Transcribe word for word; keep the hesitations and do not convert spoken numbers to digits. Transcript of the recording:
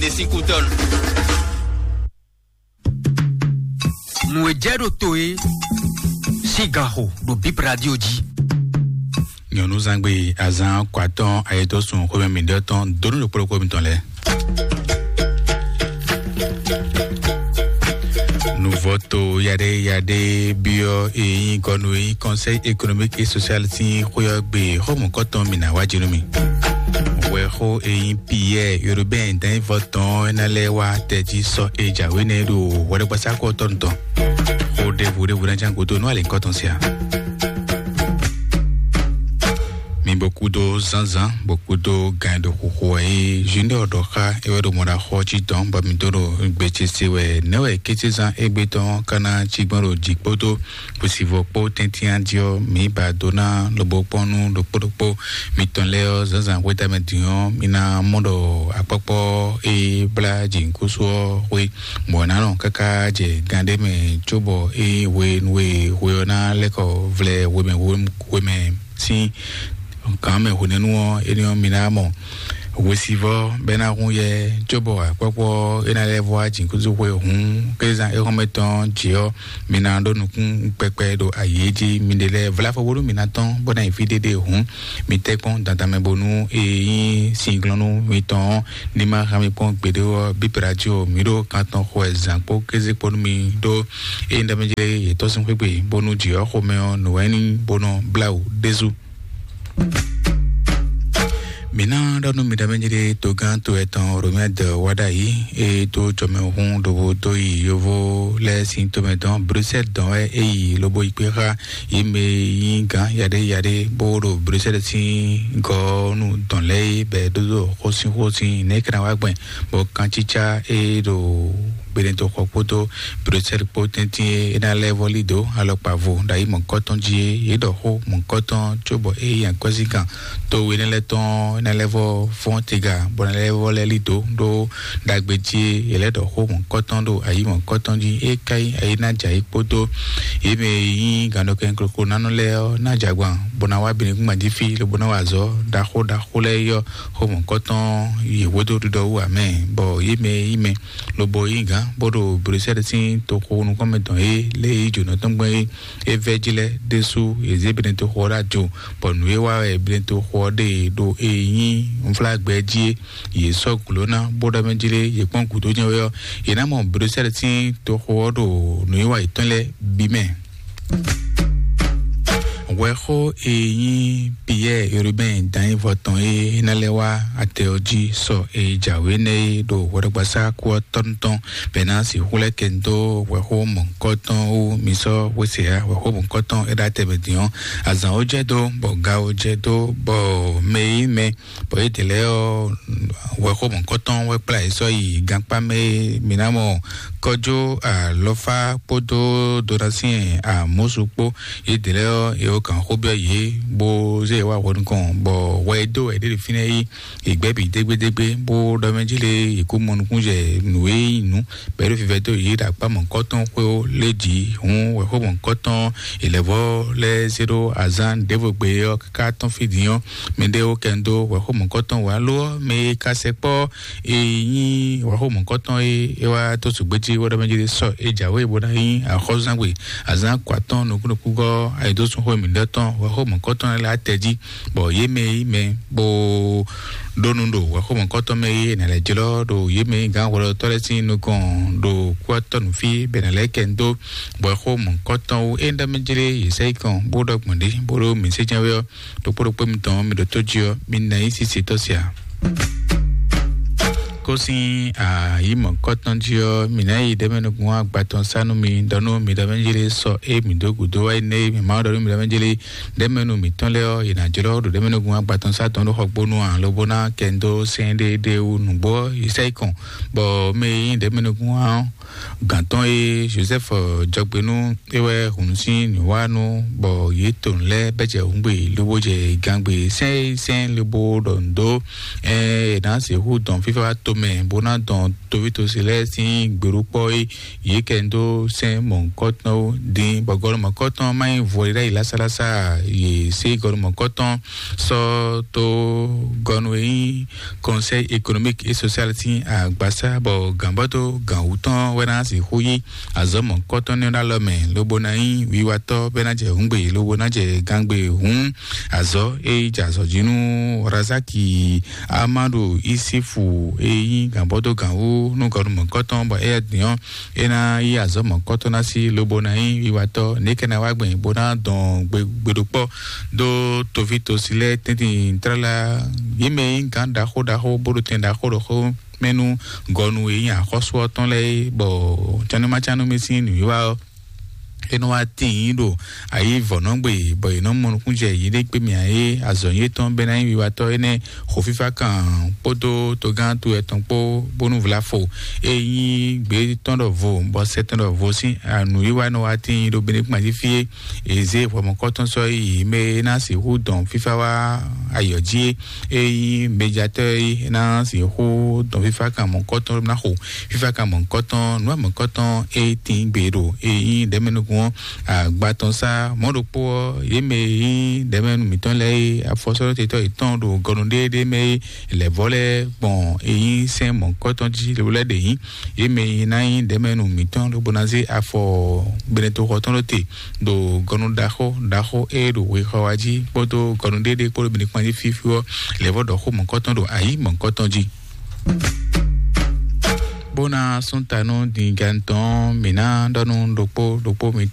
Ɖe sín kútɔ́nu. Nǔ e jɛ ɖo to é sín gan xo ɖo Bip Radio jí. Nyɔ̌nuzangbe azán kɔ atɔ́ɔ́n ayedósun xwémɛ mǐɖɔtɔn dó nú ɖokpó ɖokpó mitɔn lɛ́ɛ. Nuvɔ́to yaɖé yaɖé byɔ́ e nyí gɔnu e nyí Conseil économique et social sín xwé ɔ́ gbe xɔmɔ̌kɔtɔn mǐ ná wá jí nú mì. Wɛxó e nyí Pierre Urbain Danyivɔtɔn ɔ́ ná lɛ́ wá tɛjí sɔ́ e jǎwe nɛ́ ɖo hwɛɖɛgbasá kɔ tɔn tɔn. Xó ɖěvo ɖěvo ná ján gúdo nú alǐkɔtɔn sia. Mi bo kúdó zánzán, bo kúdó gan e ɖo xuxu wɛ é. Junior ɖɔ xá é wɛ ɖo mɔɖaxɔ cí tɔn bɔ mi dó ɖo gbe ce se wɛ. Nɛ̌ wɛ kécézán égbé tɔn ka ná cí gbɔn ɖo jǐ kpódó hwesivɔ́ kpó tɛ́ntin jí ɔ́, mǐ ba dó ná lobo kpɔ́n nú ɖokpó ɖokpó mitɔn lɛ́ɛ ɔ́, zǎnzǎn hwetɛ́mɛ din ɔ́, mi ná mɔ ɖɔ akpɔ́kpɔ́ e blá jǐnukúnso ɔ́ xwé, bɔ è nǎ nɔ káká jɛ gan ɖé mɛ, cóbɔ é hwenu e hwe ɔ́ ná lɛ́ kɔ vlɛ hwemɛ hwemɛ sín gǎn mɛ hwenɛ́nu ɔ́, énɛ́ ɔ́, mi ná mɔ hwesivɔ́ bɔ é ná hun yɛ, cóbɔ akpɔ́kpɔ́ é ná lɛ́ vɔ wá jǐnukúnso xwé hǔn, kézán éhɔ́nmɛ tɔn jǐ ɔ́, mi ná ɖó nukún kpɛkpɛ ɖo ayǐ é jí. Mi ɖe lɛ́ɛ vlá fɔ bónú mi ná tɔ́n bó ná yi fí ɖéɖé hǔn, mi tɛ́ kpɔ́n dandan mɛ bónú e nyí singlɔ́nú mitɔn ɔ́ ní ma hán mi kpɔ́n gbeɖé ɔ́, bíblá jí o, mǐ ɖo kan tɔn xo wɛ zǎn kpó kéze kpó nú mi ɖó ényí ɖɔ mɛ jlé yětɔn sín xwé gbe, bónú jǐ ɔ́ xomɛ ɔ́, nǔ wɛ ní bónɔ blá wǔ ɖésú. Mǐ ná ɖɔ nú mi ɖɔ mɛ jlé togán to etɔn Romɛ́ dɔ wá ɖ'ayǐ, e dó jɔmɛhún ɖovo dó yi yovó lɛ́ɛ sín tomɛ dɔn Bruxelles dɔn wɛ é yi lobo yi kpé xá yě mɛ e nyí gǎn yaɖé yaɖé bó ɖo Bruxelles sín gɔ́ nú dɔn lɛ́ɛ é bɛ́ dó ɖo xósínxósín nɛ̌ é ka ná wá gbɛn bɔ kancícá e ɖo Benetoxɔ kpódó Bruxelles kpó tɛ́ntin e é ná lɛ́ vɔ́ lí dǒ alɔkpa vo ɖo ayǐ mɔ̌kɔ́tɔn jí é. Yě ɖɔ xó mɔ̌kɔ́tɔn cóbɔ é yi akwɛ́zínkan to we énɛ́ lɛ́ɛ tɔn é ná lɛ́ vɔ́ fɔ́n tega bɔ ná lɛ́ vɔ́ lɛ́ lí dǒ ɖó ɖagbe jí é. Yě lɛ́ ɖɔ xó mɔ̌kɔ́tɔn ɖo ayǐ mɔ̌kɔ́tɔn jí é ká nyí ayǐ ná jɛ ayǐ kpódó yě mɛ e nyí gǎnɖɔkɛn koklónánɔ lɛ́ɛ ɔ́ ná jɛ agban bó ná wá Benekúngban jí fí lobo ná wa azɔ̌ ɖaxó ɖaxó lɛ́ɛ yi ɔ́, xó mɔ̌kɔ́tɔn yi hwedó ɖiɖɔ wú ǎ mɛ, bɔ yě mɛ e nyí mɛ lobo nyí gǎn bó ɖo Bruxelles sín toxo nukɔn mɛ tɔn é lě e yí jǒnɔ tɔn gbɛn é, é vɛ́ jí lɛ́ɛ ɖésú yě zé Benetoxo ɔ́ ɖó ajo, bɔ nǔ e wa wɛ Benetoxo ɔ́ ɖe ɖo e nyí nflágbɛ jí é, yě sɔ́ gǔló ná bó ɖɔ mɛ jí lé yě kpɔ́n gǔdo nyɛ wɛ ɔ́, yě ná mɔ Bruxelles sín toxo ɔ́ ɖo nǔwiwa yětɔn lɛ́ɛ bǐ mɛ. Hwɛxó e nyí Pierre Urbain Danyivɔ tɔn e ná lɛ́ wá atɛ ɔ́ jí sɔ e jǎwe nɛ́ é ɖo hwɛɖɔgbasá kú ɔ́ tɔ́n tɔn bɛ́ ná sixú lɛ́ kɛ dó hwɛxó mɔ̌hunkɔtɔn wú. Mi sɔ́ hwesɛ́ hwɛxó mɔ̌hunkɔtɔn é ɖó atɛ mɛ din ɔ́, azǎn ó jɛ dó, bɔ ga ó jɛ dó, bɔ mɛ e nyí mɛ bɔ yědɛɛ lɛ́ɛ ɔ́, wɛxɔmɔkɔtɔn wɛ kplá yě sɔ́ yi gankpá mɛ e mǐ ná mɔ kɔjó alɔfá kpódó donasín amúsu kpó. Yědɛɛ lɛ́ɛ ɔ́, yě wɔ kǎn xó byɔ́ yě, bó zé yě wá hwɛ nukɔn, bɔ hwɛ e dó wɛ yě ɖe ɖo fínɛ́ yi, yě gbɛ́ bǐ dégbédégbé, bó ɖɔ mɛ jí lé yě kó mɔ nukúnjɛ nǔ e nyí nǔ bɔ é ɖo vivɛ dó yě ɖo akpá mɔ̌hunkɔtɔn xwé ó lé jǐ. Hǔn wɛxɔmɔ̌hunkɔtɔn yě lɛ́ vɔ́ lɛ́ zé ɖó azǎn ɖěvo gbe ɔ́ káká tɔ́n fí din ɔ́, mɛɖé ó kɛ ń dó wɛxɔmɔ̌hunkɔtɔn wǎ lo ɔ́, mɛ e ka sɛkpɔ́ e nyí wɛxɔmɔ̌hunkɔtɔn e é wá dó sùgbéjí wɛ ɖɔ mɛ jí sɔ é jǎwe bó ná nyí axɔ́zúzángbe azǎn kɔ atɔ́ɔ́n nukúnnukúngɔ́ ayǐdósúnxó mǐɖɔtɔn wɛxɔmɔ̌hunkɔtɔn lɛ́ɛ lɛ́ atɛ jí, bɔ yě mɛ e nyí mɛ bó ɖó nu ɖo wɛxɔmɔ̌hunkɔtɔn mɛ e è nǎ lɛ́ jlɔ́ ɖo yě mɛ e nyí gǎn hwɛɖɔtɔ́ lɛ́ɛ sín nukɔn ɖo kúwatɔ́ nǔ fí bɔ è nǎ lɛ́ kɛ ń dó bɔ xó mɔ̌hunkɔtɔn wú. Ényí ɖɔ mɛ jlé yě sɛ yi kɔn bó ɖɔ gbɔn ɖě bó ɖó mǐ sé jɛ́n wɛ ɔ́, ɖokpó ɖokpó mitɔn mi ɖo tó jí ɔ́, mi ná yi sísitɔ́ sia. Kó sín ayǐ mɔ̌hunkɔtɔn jí ɔ́, mǐ ná yi ɖɛ̌mɛnukún agbatɔn sá nú mi, ɖɔ nú mi ɖɔ mɛ jlé sɔ é mǐ dó gǔdo wá yi nɛ́ é mǐ má ɖɔ nú mi ɖɔ mɛ jlé ɖɛ̌mɛnu mǐtɔn lɛ́ɛ ɔ́, yě ná jlɔ́ ɖo ɖɛ̌mɛnukún agbatɔn sá tɔn ɖó xɔ gbónú ǎ, lobo ná kɛ ń dó sɛ́n ɖé ɖé wú nǔgbó ɔ́, yě sɛ yi kɔn, bɔ mɛ e nyí ɖɛ̌mɛnukún ɔ́ Gǎntɔ́ e Joseph Jɔgbenu é wɛ hun sín nǔwánu bɔ yě to nǔ lɛ́ɛ bɛ́ jɛ hǔngbe lobo jɛ gangbe sɛ́n sɛ́n lobo ɖɔ nǔ dó ɛ ná sixú dɔn fífá tomɛ bó ná dɔn tovítɔ́sí lɛ́ɛ sín gbeɖokpɔ́ é yě kɛ dó sɛ́n mɔ̌hunkɔtɔn ó dín bɔ gɔnu mɔ̌hunkɔtɔn má nyí vɔ ɖé ɖ'ayǐ lásálásá. Yě sé gɔnu mɔ̌hunkɔtɔn sɔ́ tó gɔnu e nyí Conseil économique et social sín agbasá bɔ gǎnbɔ́dó gǎnwú tɔn wɛ ná sixú yí azɔ̌ mɔ̌hunkɔtɔn nɛ́ ɖó alɔ mɛ lobo ná nyí wiwatɔ́ bɔ é ná jɛ hǔngbe lobo ná jɛ gangbe hǔn azɔ̌ e jɛ azɔ̌ jí nú Razaki Amadu Isifu e nyí gǎnbɔ́dó gǎnwú nú gɔnu mɔ̌hunkɔtɔn bɔ éyɛ́ din ɔ́ é ná yí azɔ̌ mɔ̌hunkɔtɔn ná sí lobo ná nyí wiwatɔ́ nɛ̌ kɛ ná wá gbɛn bó ná dɔn gbe gbeɖokpɔ́ dó toví tosi lɛ́ɛ tɛ́ntin tlala yě mɛ e nyí gǎn ɖaxó ɖaxó bó ɖo tɛn ɖaxó ɖaxó mɛ nú gɔnu e nyí axɔ́sú ɔ́ tɔn lɛ́ɛ é, bɔ cannúmacánú mɛ sín nǔwiwa ɔ́ é nɔ wá tíin ɖo ayǐ vɔ̌nɔgbe bɔ yě nɔ mɔ nukúnjɛ yěɖée kpé mì ǎ é azɔ̌ yětɔn bɛ́ ná nyí wiwatɔ́ énɛ́ xo fífá kan kpódó togán to ɛtɔn kpó bónú vlafo e nyí gbě tɔn ɖɔ vo bɔ sɛ tɔn ɖɔ vo sín nǔwiwa nɔ wá tíin ɖo Benekuma jí fí é. Eze hwɛmɔkɔtɔn sɔ́ yi mɛ e ná sixú dɔn fífá wá ayɔ̌ jí é. Ényí mɛjatɔ́ e ná sixú dɔn fífá kan mɔ̌kɔtɔn ná xo fífá kan mɔ̌kɔtɔn nǔ mɔ̌kɔtɔn e tín gbe ɖo ényí ɖɛ̌mɛnukun ɔ́ agba tɔn sá mɔ̌ ɖokpó ɔ́ yě mɛ e nyí ɖɛ̌mɛnu mǐtɔn lɛ́ɛ e afɔsɔ́ɖɔtɛtɔ́ yětɔn ɖo gɔnu ɖéeɖée mɛ e lɛ̌vɔ́ lɛ́ɛ gbɔn e nyí sɛ́n mɔ̌kɔtɔn jí lɛ́ ɖe nyí yě mɛ e ná nyí ɖɛ̌mɛnu mǐtɔn lobo ná zé afɔ benetoxɔ tɔn ɖó te ɖo gɔnu ɖaxó ɖaxó e ɖo wexɔ wa jí kpódó gɔnu ɖéɖé kpódó bǐ ní kpan jí fífí ɔ́ lɛ̌vɔ́ ɖɔ xó mɔ̌kɔtɔn ɖo ayǐ mɔ̌kɔtɔn jí. Bó ná sún ta nú dǐngán tɔn mǐ ná ɖɔ nú ɖokpó ɖokpó mi